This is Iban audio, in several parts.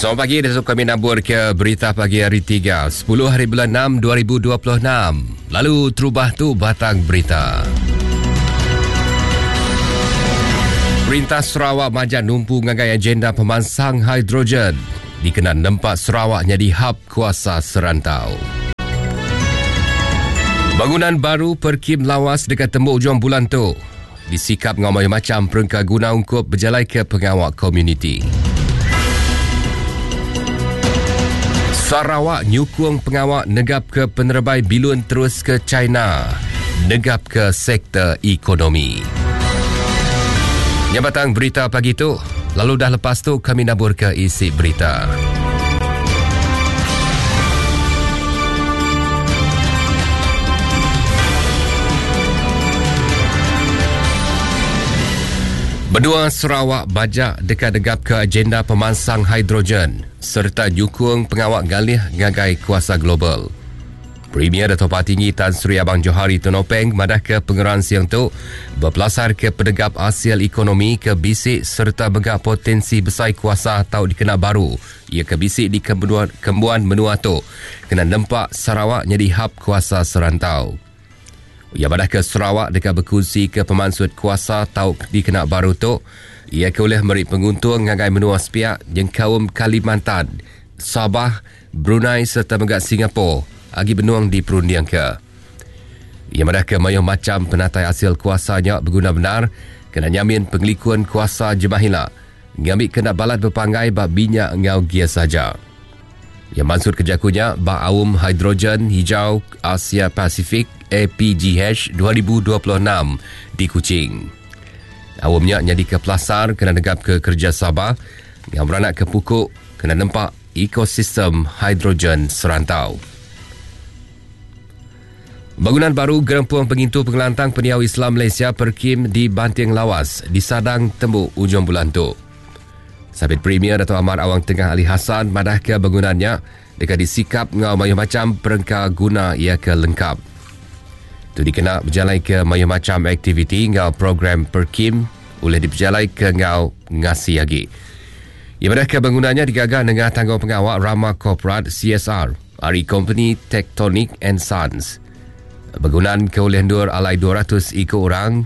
Selamat pagi, esok kami nabur ke berita pagi hari 3, 10 hari bulan 6 2026. Lalu terubah tu batang berita. Perintah Sarawak majak numpu ngagai agenda pemansang hidrogen dikena nempa Sarawak nyadi hub kuasa serantau. Bangunan baru Perkim Lawas dekat tembu ujung bulan tu disikap ngau mayuh macam perengka guna ungkup bejalai ke pengawa komuniti. Sarawak nyukung pengawa negap ke penerebai bilun terus ke China, negap ke sektor ekonomi. Nyabatang berita pagi tu, lalu dah lepas tu kami nabur ke isi berita. Benua Sarawak bajak dekat degap ke agenda pemansang hidrogen serta nyukung pengawak galih ngagai kuasa global. Premier Dato' Patinggi Tan Sri Abang Johari Tun Openg madah ke pengeran siang tu berpelasar ke penegap hasil ekonomi ke bisik serta megak potensi besar kuasa atau dikena baru ia ke bisik di kembuan, kembuan menua tu kena nempak Sarawak jadi hub kuasa serantau. Ia madah ke Sarawak dekat berkongsi ke pemansut kuasa tau dikena baru tu ia ke boleh meri penguntung ngagai menua sepiak yang kaum Kalimantan, Sabah, Brunei serta megak Singapura agi benuang di perundiang ke. Ia madah ke mayuh macam penatai hasil kuasanya berguna benar kena nyamin pengelikun kuasa jemahila ngambil kena balat berpanggai bak minyak ngau gia saja. Yang maksud kerjakunya bak aum hidrogen hijau Asia Pasifik APGH 2026 di Kuching. Awamnya jadi ke pelasar kena negap ke kerja Sabah yang beranak ke pukuk kena nempak ekosistem hidrogen serantau. Bangunan baru Gerempung Pengintu Pengelantang Peniau Islam Malaysia Perkim di Banting Lawas disadang temu ujung bulan tu. Sabit Premier Dato' Amar Awang Tengah Ali Hassan madah ke bangunannya dekat disikap ngau mayuh macam perengka guna ia ke lengkap. Tu dikena berjalai ke mayuh macam aktiviti ngau program Perkim boleh diperjalai ke ngau ngasi lagi. Ia madah ke bangunannya digaga dengan tanggung pengawal Rama Corporate CSR ari company Tectonic and Sons. Bangunan ke oleh ndur alai 200 ikut orang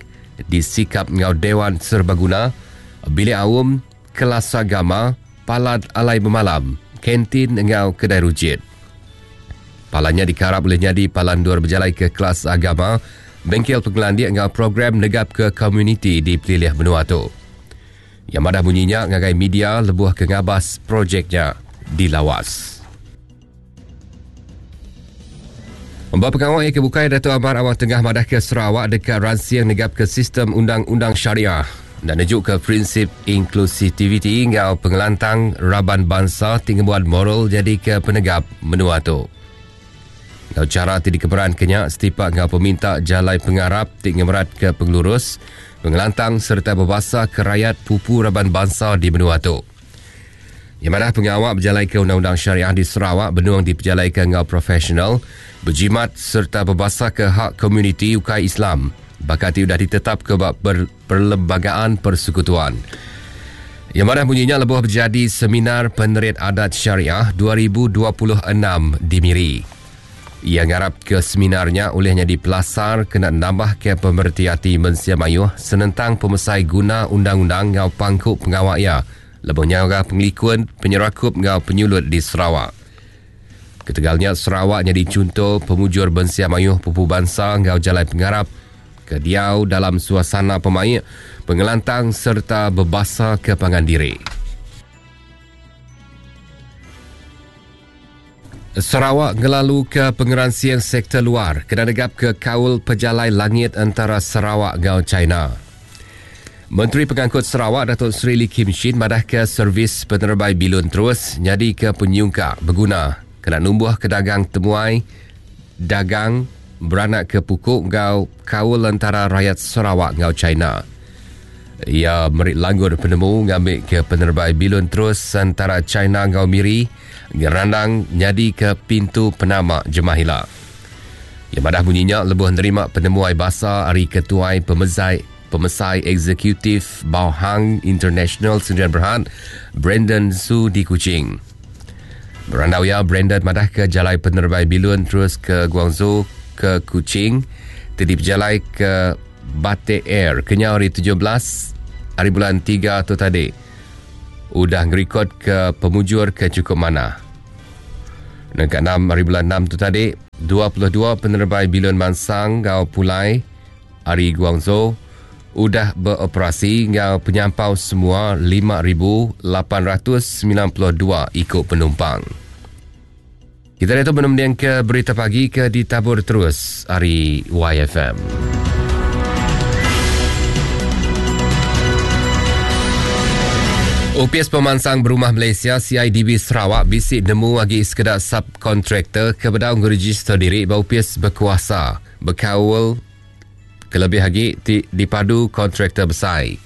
disikap ngau Dewan Serbaguna, bilik awam, kelas agama, palat alai bermalam, kantin ngau kedai rujit. Palannya dikarap boleh jadi palan dur berjalai ke kelas agama, bengkel pengelandik ngau program negap ke komuniti di pelilih benua tu. Yang madah bunyinya ngagai media lebuh ke ngabas projeknya di Lawas. Mbak pengawal yang kebukai Dato' Amar Awang Tengah madah ke Sarawak dekat ransiang negap ke sistem undang-undang syariah dan nejuk ke prinsip inklusiviti ngau pengelantang raban bangsa tinggi buat moral jadi ke penegap menua tu. Ngau cara ti dikeberan kenyak setipak ngau peminta jalai pengarap ti ngemerat ke pengelurus, pengelantang serta berbahasa ke rakyat pupu raban bangsa di menua tu. Yang mana pengawal berjalai ke Undang-Undang Syariah di Sarawak benuang diperjalai ke ngau profesional, berjimat serta berbahasa ke hak komuniti ukai Islam. Bakati sudah ditetap ke bab perlembagaan persekutuan. Yang mana bunyinya lebuh berjadi seminar penerit adat syariah 2026 di Miri. Ia ngarap ke seminarnya olehnya di pelasar kena nambah ke pemerhati hati mensia mayuh senentang pemesai guna undang-undang ngau pangkuk pengawak ia lebuh nyaga pengelikun penyerakup ngau penyulut di Sarawak. Ketegalnya Sarawak jadi contoh pemujur bensia mayuh pupu bangsa ngau jalai pengarap ke diau dalam suasana pemaik, pengelantang serta berbahasa ke pangan diri. Sarawak ngelalu ke pengeransian sektor luar kena negap ke kaul pejalai langit antara Sarawak ngau China. Menteri Pengangkut Sarawak Datuk Seri Lee Kim Shin madah ke servis penerbai bilun terus jadi ke penyungkak berguna kena numbuh ke dagang temuai dagang beranak ke pukuk ngau kaul antara rakyat Sarawak ngau China. Ia merik langgur penemu ngambil ke penerbai bilun terus antara China ngau Miri ngerandang nyadi ke pintu penama Jemahila. Yang madah bunyinya lebuh nerima penemuai basa hari ketuai pemezai Pemesai Eksekutif Baohang International Sendirian Berhad, Brandon Su di Kuching. Berandau iya, Brandon madahka jalai penerebai bilun terus ke Guangzhou ke Kuching ti dipejalai ke Batik Air kenyau hari 17 hari bulan 3 tu tadi udah ngerikodka pemujur ke chukup manah. Nengka 6 hari bulan 6 tu tadi, 22 penerebai bilun mansang enggau pulai ari Guangzhou udah beoperasi enggau penyampau semua 5,892 iku penumpang. Kita diatu menemendingka berita pagi ke ditabur terus ari YFM. Opis Pemansang Berumah Malaysia CIDB Sarawak bisi nemu agi sekeda subkontraktor ke bedau ngerejister diri ba opis bekuasa bekaul kelebih agi ti dipadu kontraktor besai.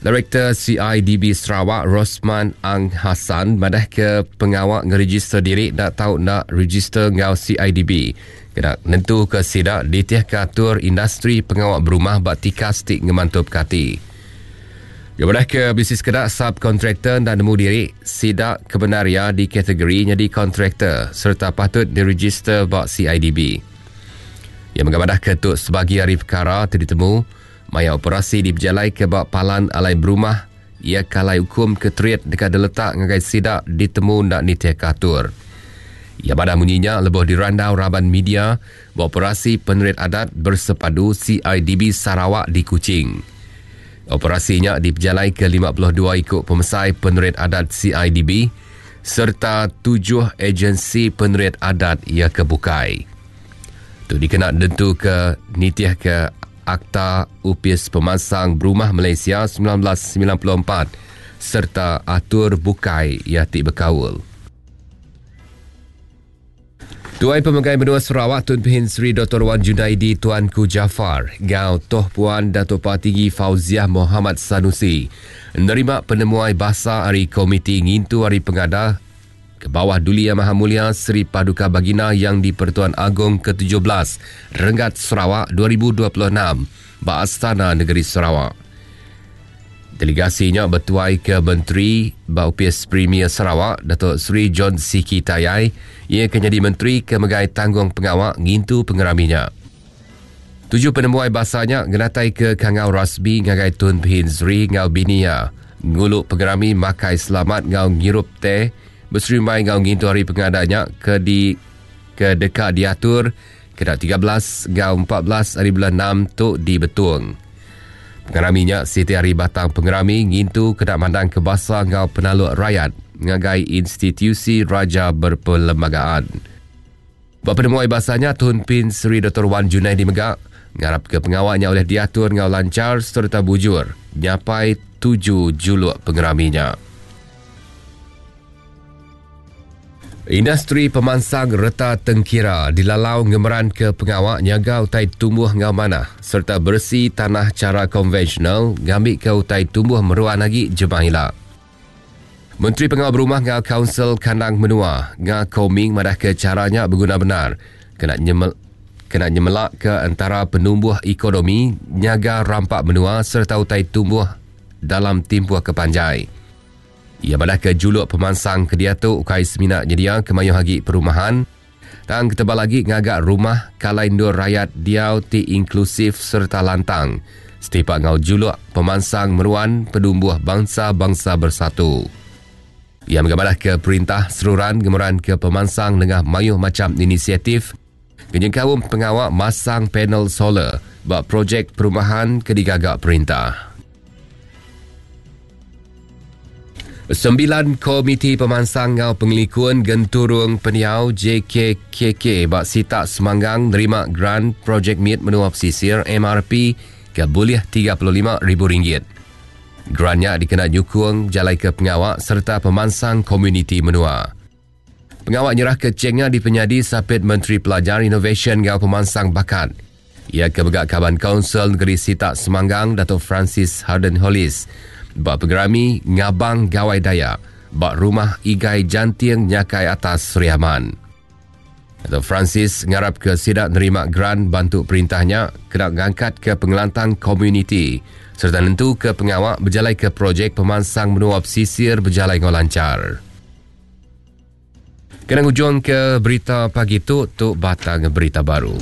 Direktor CIDB Sarawak Rosman Ang Hassan madahka pengawa ngerejister diri enda tau enda rejister enggau CIDB kena nentuka sida nitihka atur industri pengawa berumah ba tikas ti ngemantupka ati. Iya madahka bisi sekeda subkontraktor enda nemu diri sida kebendar iya dikategori nyadi kontraktor sereta patut direjister ba CIDB. Iya mega madahka tu sebagi ari pekara ti ditemu maya operasi dipejalaika ba palan alai berumah iya ke alai ukum ke terit deka diletak ngagai sida ditemu enda nitihka atur. Iya madah munyi nya lebuh dirandau raban media ba Operasi Penerit Adat Bersepadu CIDB Sarawak di Kuching. Operasi nya dipejalaika 52 iku pemesai penerit adat CIDB sereta tujuh ejensi penerit adat iya ke bukai. Tu dikena nentuka nitihka Akta Opis Pemansang Berumah Malaysia 1994 sereta atur bukai iya ti bekaul. Tuai Pemegai Menua Sarawak Tun Pehin Sri Doktor Wan Junaidi Tuanku Jaafar enggau Toh Puan Datuk Patinggi Fauziah Mohamad Sanusi nerima penemuai basa ari Komiti Ngintu Hari Pengada ke bawah Duli Yang Maha Mulia Seri Paduka Baginda Yang di-Pertuan Agong ke-17 Renggat Sarawak 2026 ba Astana Negeri Sarawak. Delegasi nya betuaika Menteri ba Opis Premier Sarawak, Datuk Seri John Sikie Tayai, iya ke nyadi menteri ke megai tanggungpengawa ngintu pengerami nya. Tuju penemuai basa nya ngenataika kangau rasmi ngagai Tun Pehin Sri enggau bini iya ngulu pengerami makai selamat enggau ngirup teh beserimbai enggau ngintu hari pengada nya ke di ke deka diatur kena 13 enggau 14 hari bulan 6 tu di Betong. Pengerami nya siti ari batang pengerami ngintu kena mandangka basa enggau penaluk rayat ngagai institusi Raja Berperlembagaan. Ba penemuai basa nya, Tun Pin Sri Doktor Wan Junaidi mega ngarapka pengawa nya ulih diatur enggau lanchar sereta bujur nyapai tuju juluk pengerami nya. Industri pemansang reta tengkira dilalau ngemeranka pengawa nyaga utai tumbuh enggau manah sereta beresi tanah chara konvensional ngambika utai tumbuh meruan agi jemah ila. Menteri Pengawa Berumah enggau Kaunsil Kandang Menua, Nga Kor Ming madahka chara nya beguna bendar kena kena nyemelaka entara penumbuh ekonomi, nyaga rampa menua sereta utai tumbuh dalam timpuh ke panjai. Iya madahka juluk pemansang ke diatu ukai semina nyediaka mayuh agi perumahan, tang ketebal agi ngaga rumah kalai endur rayat diau ti inklusif sereta lantang setipak enggau juluk pemansang meruan penumbuh Bangsa-Bangsa Bersatu. Iya mega madahka perintah seruran ngemeranka pemansang nengah mayuh macham inisiatif ke nyengkaum pengawa masang panel solar ba projek perumahan ke digaga perintah. Sembilan Komiti Pemansang enggau Pengelikun Genturung Pendiau JKKK ba sitak Semanggang nerima grant Projek Mit Menua Pesisir MRP ke bulih RM35,000. Grant nya dikena nyukung bejalaika pengawa sereta pemansang komuniti menua. Pengawa nyerahka chek nya dipenyadi Sapit Menteri Pelajar, Inovasyen enggau Pemansang Bakat. Iya ke mega Kaban Kaunsil Negeri Sitak Semanggang Datuk Francis Harden Hollis ba pengerami Ngabang Gawai Dayak ba Rumah Igai Janting Nyakai Atas Sri Aman. Dato Francis ngarap ke sida nerima geran bantu perintah nya kena ngangkatka pengelantang komuniti sereta nentuka pengawa bejalaika projek pemansang menua pesisir bejalai enggau lanchar. Kena ngujungka berita pagi tu, tu batang berita baru.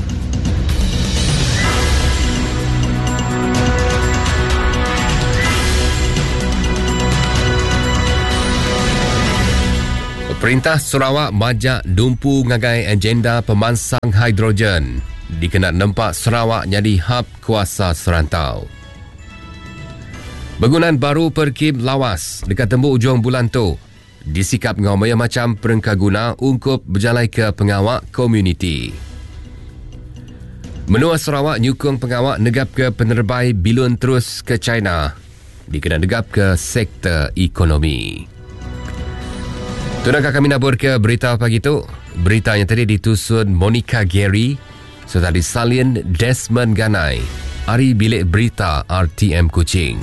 Perintah Sarawak majak numpu ngagai agenda pemansang hidrogen dikena nempa Sarawak nyadi hub kuasa serantau. Begunan baru Perkim Lawas deka tembu ujung bulan tu disikap enggau mayuh macham perengkaguna ungkup bejalaika pengawa komuniti. Menua Sarawak nyukung pengawa negapka penerebai bilun terus ke China dikena negapka sektor ekonomi. Tunaka kami naburka berita pagi tu. Berita nya tadi ditusun Monica Gary sereta disalin Desmond Ganai ari Bilik Berita RTM Kuching.